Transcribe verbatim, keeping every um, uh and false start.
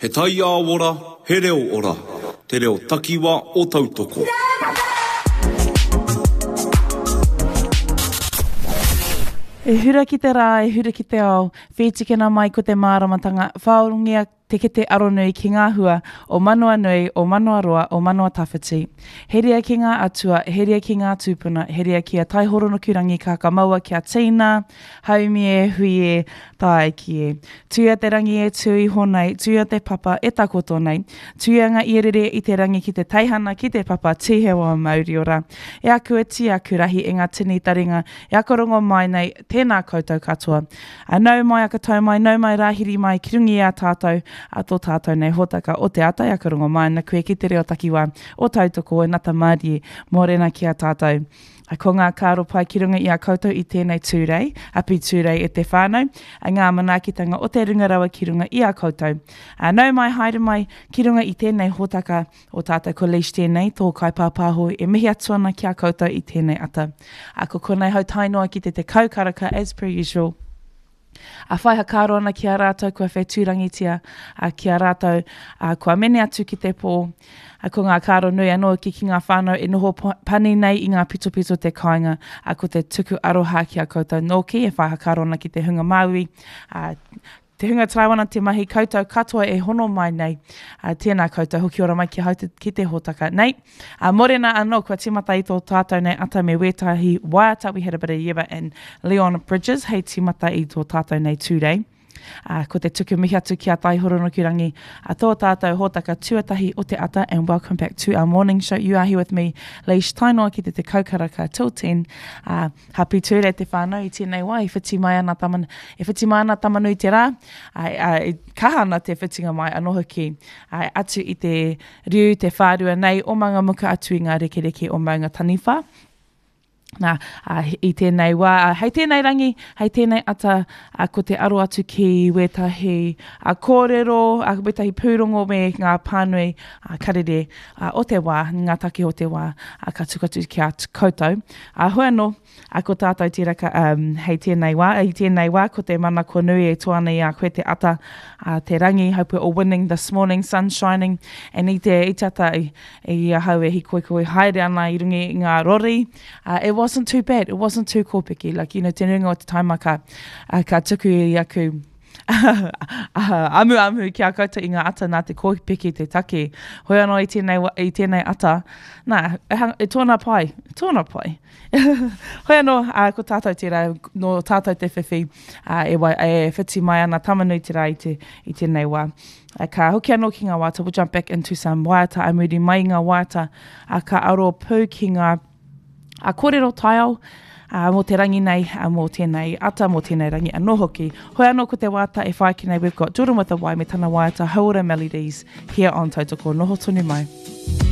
He taiao ora, he reo ora. Te reo takiwa o Tautoko. E hura ki te rā, e hura ki te ao, whītikina mai ko te māramatanga, whāorongia te kete aronui ki ngā hua o manawa nui, o manawa roa, o manawa tawhiti. Heria ki ngā atua, heria ki ngā tūpuna, heria ki a Taihoronukurangi kākamaua kia tīna, haumi e, hui e, tāiki e. Tuia te rangi e tū iho nei, tuia te papa e takoto nei, tuia ngā ierere i te rangi ki te teihana, ki te papa, tīhewa mauri ora. E aku iti, aku rahi e ngā tini taringa, e ako rongo mai nei, tēnā koutou katoa. A nau mai, aka tau mai, nau mai rāhiri mai, ki runga i a tātou, a tō tātou nei hōtaka o te ata, e ako rongo mai ana koe ki te reo takiwā o Tautoko e Nata Mārie, mōrena ki a tātou. A ko ngā kāro pai ki runga i a koutou i tēnei tūrei, api tūrei e te whānau, a ngā manaakitanga o te runga rawa ki runga i a koutou. A nau mai, haere mai, ki runga i tēnei hōtaka o tātou ko Leish tēnei, tō kaipāpāho e mihi atu ana ki a koutou i tēnei ata. A ko konei hau tae noa ki te tekau karaka as per usual. A whai hakaaro ana ki a rātou kua whetūrangitia, a ki a rātou a, kua mene atu ki te pō. A ko ngā kāro nui anō ki, ki ngā whānau e noho pani nei i ngā pitopito te kāinga, a ko te tuku aroha ki a koutou nōki e whai hakaaro ana ki te hunga Māui, a, te hunga taraiwana te mahi koutou katoa e hono mai nei. A, tēnā koutou, hoki ora mai ki hau te, ki te hōtaka nei. A, morena anō, kua tīmata i tō tātou nei ata me wētahi waiata. We had a bit of Yeba and Leon Bridges hei tīmata i tō tātou nei tūrei. A, ko te tuku mihi atu ki a Taihoronukurangi, a tō tātou hōtaka tuatahi o te ata, and welcome back to our morning show. You are here with me, Leish, tae noa ki te tekau karaka till ten. A, happy tūrei te whānau i tēnei wā, e whiti mai ana taman, e whiti mai ana tamanui te rā, a, a, e kaha ana te whitinga mai anō hoki, a, atu i te riu, te whārua nei o Mangamuka atu i ngā rekereke o Maunga Taniwha. Nā, a, i tēnei wā, a, hei tēnei rangi, hei tēnei ata, a, ko te aro atu ki wētahi a, kōrero, a, wētahi pūrongo me ngā pānui a, karere a, o te wā, ngā take o te wā, a, ka tuku atu ki a koutou. A, hoi anō, a, ko tātou tēraka, um, hei tēnei wā, i tēnei wā, ko te mana ko nui e toa nei a koe te ata, a, te rangi, hope we're all winning this morning, sun shining, and i te, i te ata, i, i ahau e hikoikoi haere ana i runga i ngā rori, uh, it wasn't too bad, it wasn't too kōpeke, like, you know, te nuinga o te taima ka, uh, ka tuku i aku amu amu ki a koutou i ngā ata nā te kōpeke te take. Hoi anō i tēnei, i tēnei ata, nā, e, hang, e tōna pai, tōna pai. Hoi anō, uh, ko tātou tērā, nō tātou te whiwhi, uh, e, wai, e whiti mai ana tamanui te rā i, te, i tēnei wā. Uh, ka hoki anō ki ngā waiata, we'll jump back into some waiata, a muri mai i ngā waiata, uh, ka aro pū ki ngā a kōrero taiao, uh, mō te rangi nei, uh, mō tēnei ata, mō tēnei rangi anō hoki. Hoi anō ko te wāta e whai ki nei, we've got Jordan with a Y me tana waiata Hauora Melodies here on Tautoko. Noho tonu mai.